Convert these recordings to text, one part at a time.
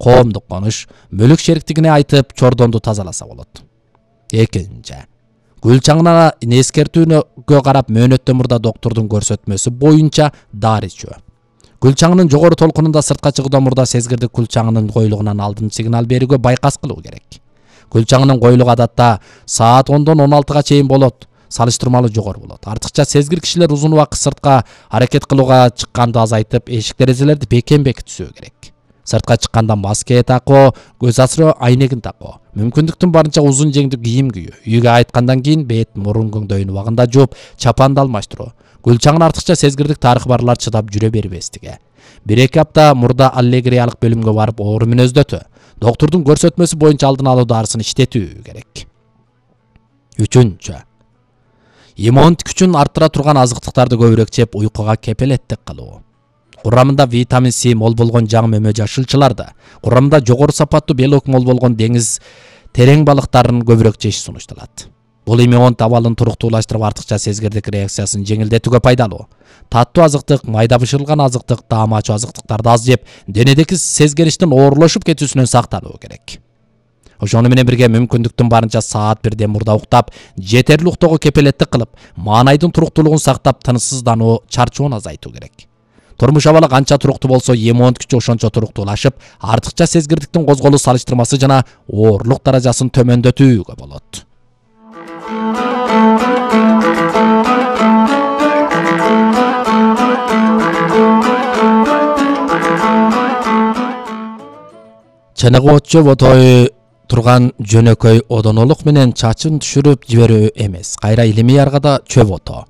коомдук конуш, мүлүк шериктигине айтып чордонду тазаласа болот. Экинчи, гүл чаңына эскертүүгө карап мөөнөттөн мурда доктордун көрсөтмөсү боюнча дары ичүү. Гүл чаңынын жогору толкунунда сыртка чыгуудан мурда сезгирдик гүл чаңынын коюлугунан алдын сигнал берүүгө байкас кылуу керек. Гүл чаңынын коюлугу адатта саат 10-дон 16-га чейин болот. Салыштырмалуу жогору болот. Артыкча сезгир кишилер узун убакыт сыртка аракет кылууга чыкканды азайтып, эшик-терезелерди бекем бекитишүү керек. Сыртка чыкканда маска такуу, көз асыроо айнегин такуу, мүмкүндүктүн барынча узун жеңдүү кийим кийүү, үйгө кайткандан кийин бет, мурун көңдөйүн убагында жууп, чапанды алмаштыруу. Гүл чаңын артыкча сезгирдик тарыхы барлар чыдап жүрө бербестиги. 1-2 апта мурда аллегриялык бөлүмгө барып оору мүнөздөтүү, доктордун көрсөтмөсү боюнча алдын алуу дарысын иштетүү керек. Үчүнчү, иммундук күчүн арттыра турган азыктыктарды көбүрөөк жеп, уйкуга кепелеттик кылуу. Курамында витамин С мол болгон жаң мөмө жашылчыларды, курамында жогору сапаттуу белок мол болгон деңиз терең балыктарын көбүрөөк жеш сунушталат. Бул иммундук абалын туруктуулаштырып, артыкча сезгирдик реакциясын жеңилдетүүгө пайдалуу. Таттуу азыктык, майда бышырылган азыктык, таам ачуу азыктыктарды аз жеп, денедеки сезгириштин оорулошуп кетүүсүнөн сактануу керек. Ошону менен бирге мүмкүндүктүн барынча саат 1ден мурда уктап, жетерлик уктоого кепелеттик кылып, маанайдын туруктуулугун сактап, тынычсыздануу, чарчоону азайтуу керек. Турмуш абалы канча туруктуу болсо, иммундук күчү ошончо туруктуулашып, артыкча сезгирдиктин козголуу салыштырмасы жана оорлук даражасын төмөндөтүүгө болот. Чыныгы от чөп отой турган жөнөкөй одонолук менен чачын түшүрүп жиберүү эмес, кайра илимий аргада чөп ото.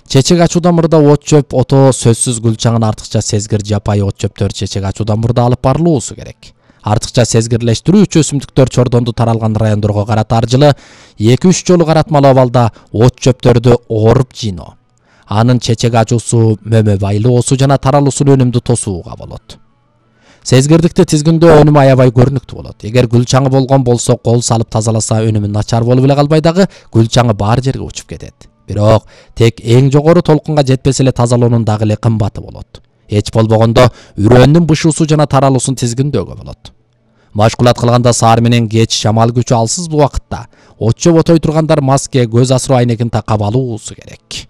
Чечек ачуудан мурда от чөп ото сөзсүз гүл чаңын артыкча сезгир жапайы от чөптөр чечек ачуудан мурда алып барылуусу керек. Артыкча сезгирлештирүүчү өсүмдүктөр чордонду таралган райондорго карата аржылы 2-3 жолу каратмалуу абалда от чөптөрдү ооруп жыйноо. Анын чечек ачуусу, мөмө байлоосу жана таралуусун өнүмдүү тосууга болот. Сезгирдикти тизгиндөө өнүмү аябай көрүнүктүү болот. Эгер гүл чаңы болгон болсо, кол салып тазаласа өнүмү начар болуп эле калбай дагы гүл чаңы бар жерге учуп кетет. Бирок тек эң жогору толкунга жетпесе эле тазалоонун дагы эле кымбаты болот. Эч болбогондо үрөөнүн бышуусу жана таралуусун тизгиндөөгө болот. Машкулат кылганда саар менен кеч шамал күчү алсыз убакытта от чөп отой тургандар маска, көз асыроо айнегин такап алуусу керек.